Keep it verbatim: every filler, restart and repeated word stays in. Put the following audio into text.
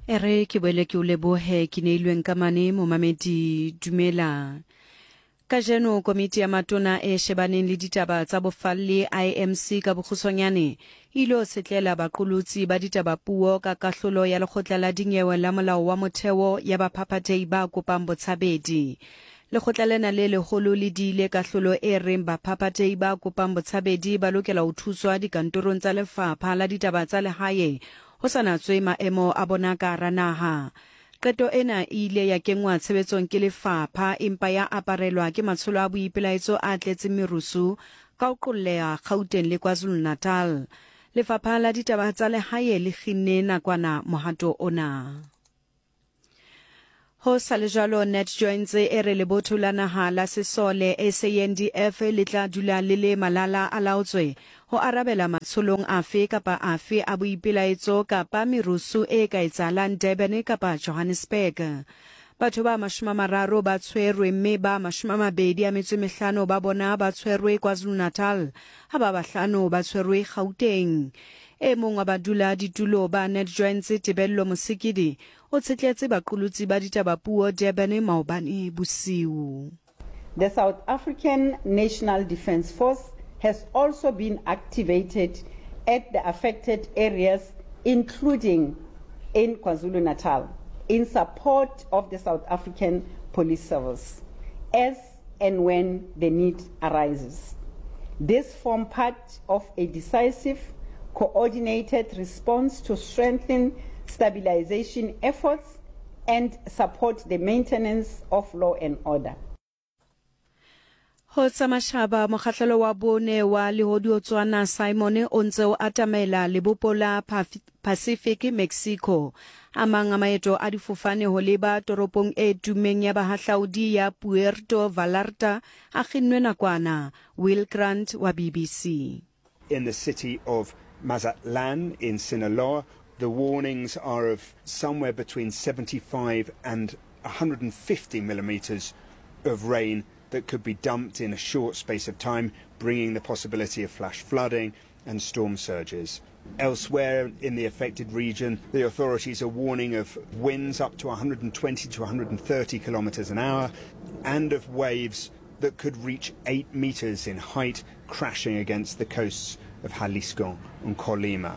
E re ke boele ke o lebohe ke neilweng ka mane momamedi dumela. Kajeno komiti ya matona e shebaneng le ditaba tsa bofalli I M C ka bokgutshwanyane e ilo setlela baqolotsi ba ditaba puo ka kahlolo ya lekgotla la dinyewe la molao wa motheo ya baphaphathehi ba kopang botshabedi. Lekgotla lena le leholo le diile kahlolo e reng baphaphathehi ba kopang botshabedi ba lokela ho thuswa dikantorong tsa lefapha la ditaba tsa lehae ho sa natswe maemo a bona ka hara naha. Qeto ena e ile ya kenngwa tshebetsong ke lefapha empa ya aparelwa ke matsholo a boipelaetso a tletseng merusu ka ho qolleha Gauteng le KwaZulu-Natal. Lefapha la ditaba tsa lehae le kginne nakwana mohato ona. Ho sa le jwalo, NatJoints e re lebotho la naha la sesole S A N D F le tla dula le le malala a laotswe ho arabela matsholong afe kapa afe a boipelaetso kapa merusu e ka etsahalang Durban kapa Johannesburg. Batho ba mashome a mararo ba tshwerwe mme ba mashome a mabedi a metso e mehlano ba bona ba tshwerwe KwaZulu-Natal, ha ba bahlano ba tshwerwe Gauteng. E mong wa badula ditulo ba NatJoints Tebello Mosikidi o tshetletse baqolotsi ba ditaba puo Durban maobane bosiu. The South African National Defence Force has also been activated at the affected areas, including in KwaZulu-Natal, in support of the South African Police Service, as and when the need arises. This forms part of a decisive, coordinated response to strengthen stabilization efforts and support the maintenance of law and order. Ho tsa mashaba, mokgahlelo wa bone wa lehodiotswana Simon o ntse o atamela lebopo la Pacific Mexico. A mang a maeto a difofane ho leba toropong e tummeng ya bahahlaudi ya Puerto Vallarta a kginnwe nakwana. Will Grant wa B B C. In the city of Mazatlan in Sinaloa, the warnings are of somewhere between seventy-five and a hundred and fifty millimeters of rain that could be dumped in a short space of time, bringing the possibility of flash flooding and storm surges. Elsewhere in the affected region, the authorities are warning of winds up to a hundred and twenty to a hundred and thirty kilometers an hour and of waves that could reach eight meters in height, crashing against the coasts of Jalisco and Colima.